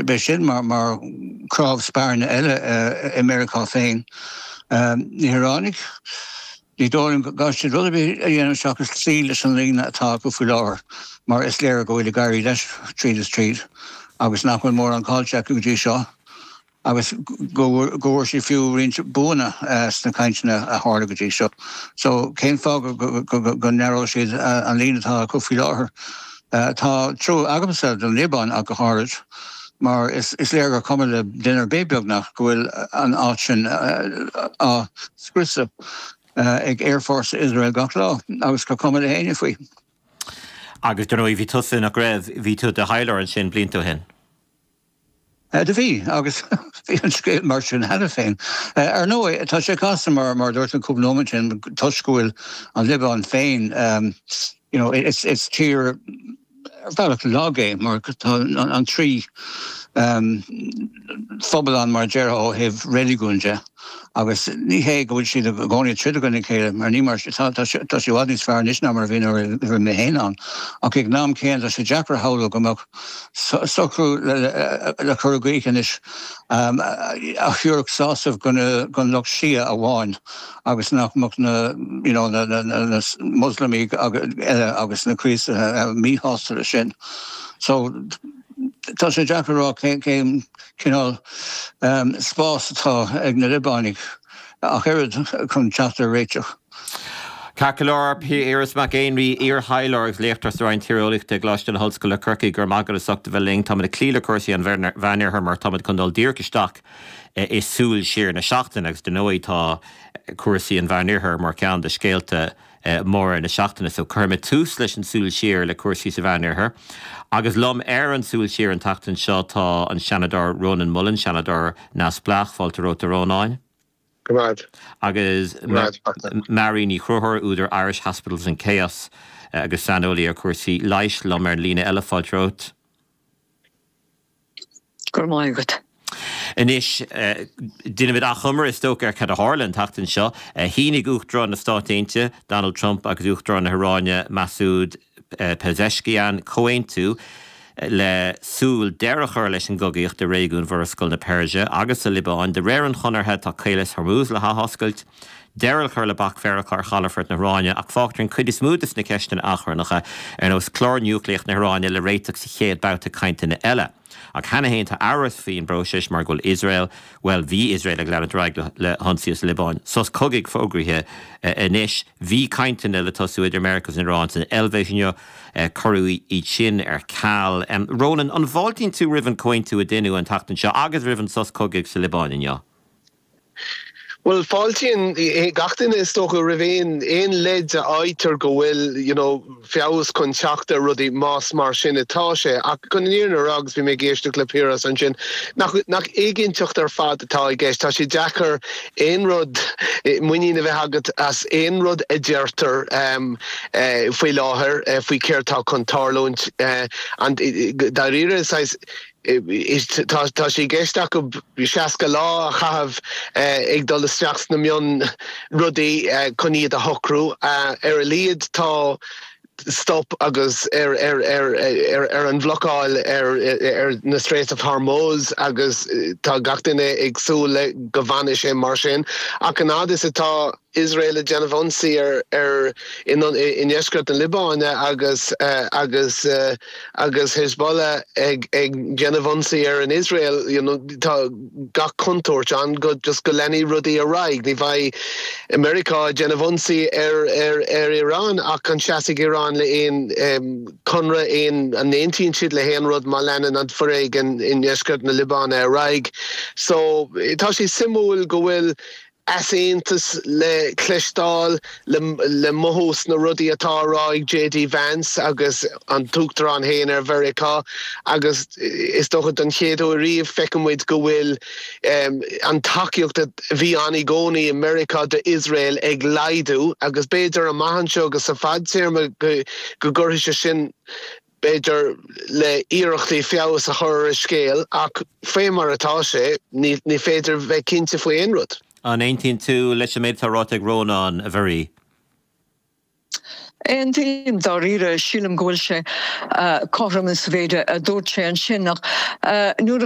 Beidh sin mar chnámh spairne eile i Meiriceá féin. Na hIoránaigh, ní dóigh liom go gcaithfidh siad rud ar bith a dhéanamh seachas cloí leis an líne atá acu faoi láthair mar is léir go bhfuil ag éirí leis tríd is tríd agus nach bhfuil mórán caillte acu go dtí seo. agus go bhfuair siad fiú roinnt buanna sna cainteanna a tharla go dtí seo. So cén fáth go n-athródh siad an líne atá acu faoi láthair? Tá trua agamsa don Liobáin ach go háirid, mar is léir gur cuma le duine ar bith, beagnach, go bhfuil an áit sin á scriosadh ag aerfhórsa Iosrael gach lá agus gur cuma le héinne faoi. Agus dar ndóigh bhí tusa, nach raibh, bhí tú i do thaidhleoir ansin blianta ó shin. Do bhí, agus bhí an scéal mar sin cheana féin. Ar ndóigh, tá sé casta mar, mar a dúirt mé cúpla nóiméad ó shin, toisc go bhfuil an Liobáin féin, you know, is tír ar bhealach lag é mar tá an trí phobal ann mar a déarfá ó thaobh reiligiúin de. Agus ní hé go bhfuil siad i gcónaí ag troid i gcoinne a chéile, mar ní mar, tá, tá sé i bhfad níos fearr anois ná mar a bhí nuair a bhí mé féin ann. Ach ag an am céanna tá sé deacair a shamhlú go mbeadh socrú le cur i gcrích anois a thabharfadh sásamh don lucht Shia amháin agus nach mbeadh na, you know, na, na, na Moslamaigh eile agus na Críostaithe míshásta leis sin. So tá sé deacair a rá cén, cén, cineál spás atá ag na Liobánaigh ach oiread chun teacht ar réiteach. Ceart go leor, Piaras Mac Éinrí, iar-thaidhleoir agus léachtóir sa Roinn Tíreolaíochta i gColáiste na hOllscoile Corcaigh, go raibh maith agat as ucht a bheith linn. Táimid ag cloí le cúrsaí an Mheánoirthir mar táimid chun dul díreach isteach i súil siar na seachtaine agus dar ndóigh tá cúrsaí an Mheánoirthir mar cheann de scéalta móra na seachtaine. So cuirfidh mé tús leis an Súil Siar le cúrsaí sa Mheánoirthear. Agus liom ar an Súil Siar an tseachtain seo tá an Seanadóir Rónán Mullen, Seanadóir Neamhspleách. Fáilte romhat a Rónáin. Go raibh. Agus Mary Ní Chonchúir, údar Irish Hospitals in Chaos agus saineolaí ar chúrsaí leighis liom ar an líne eile. Fáilte romhat. Go raibh maith agat. Anois, déanfaimid achoimre, is dócha, ar cad a tharla an tseachtain seo. Shínigh Uachtarán na Stát Aontaithe, Donald Trump agus Uachtarán na hIaráine, Masoud Pezeshkian, comhaontú le súil deireadh a chur leis an gcogaíocht i réigiún Mhurascaill na Peirse agus sa Liobáin. De réir an chonartha, tá Caolas Hormuz le hathoscailt, deireadh le cur le bac Mheiriceá ar chalafort na hIaráine ach fágtar an chuid is mó de na ceisteanna achrannacha, ar nós clár núicléach na hIaráine, le réiteach sa chéad babhta cainteanna eile. Ach cheana féin tá amhras faoin bpróiseas mar go bhfuil Iosrael, bhuel bhí Iosrael ag leanúint ar aghaidh le hionsaí sa Liobáin. Sos cogaidh fógraithe anois. Bhí cainteanna le tosú idir Meiriceá agus an Iaráin san Eilvéis inniu. Cuireadh iad sin ar ceal. Rónán, an bhfáiltíonn tú roimh an comhaontú a deineadh an tseachtain seo agus roimh an sos cogaidh sa Liobáin inniu? Bhuel, fáiltíonn gach duine is dócha roimh aon aon leid a fhaightear go bhfuil you know feabhas chun teacht ar rudaí, más mar sin atá sé. Ach chun an fhírinne a rá, agus bhí mé ag éisteacht le Piaras ansin, nach nach éiginnteacht ar fad atá i gceist. Tá sé deacair aon rud, muinín a bheith agat as aon rud a deirtear faoi láthair faoi céard tá chun tarlúint. An dáiríre, saghas, Tá sé i gceist acu 60 lá a chaitheamh ag dul isteach sna mion rudaí chun iad a shocrú. Ar a laghad tá stop agus ar ar an bhlocáil ar na Straits of Hormuz agus tá gach duine ag súil le go bhfanfaidh sé mar sin. Ach an fhad is atá Iosrael ag déanamh ionsaí ar ar i ndeisceart na Liobáine agus agus agus Hezbollah ag ag déanamh ionsaí ar an Iosrael you know tá gach contúirt ann go just go leanfaidh rudaí ar aghaidh. Ní bheidh Meiriceá ag déanamh ionsaí ar ar ar Iran ach an seasfaidh Iran le aon conradh aon an aontaíonn siad le haon rud má leanann an foréigean i ndeisceart na Liobáine ar aghaidh. So tá sé suimiúil go bhfuil easaontas le cloisteáil, le mothú sna rudaí atá á rá ag JD Vance agus an tUachtarán féin ar Mheiriceá agus is dócha don chéad uair riamh feiceann muid go bhfuil an tacaíocht a bhí ann i gcónaí i Meiriceá d'Iosrael ag laghdú agus b'fhéidir amach anseo agus sa fadtéarma go gcuirfidh sé sin b'fhéidir, le iarrachtaí feabhas a chur ar an scéal, ach faoi mar atá sé, ní féidir bheith cinnte faoi aon rud. An aontaíonn tú leis an méid atá ráite ag Rónán, a Mharie? Aontaím dáiríre, sílim go bhfuil sé cothrom sa mhéid a dúirt sé ansin ach nuair a.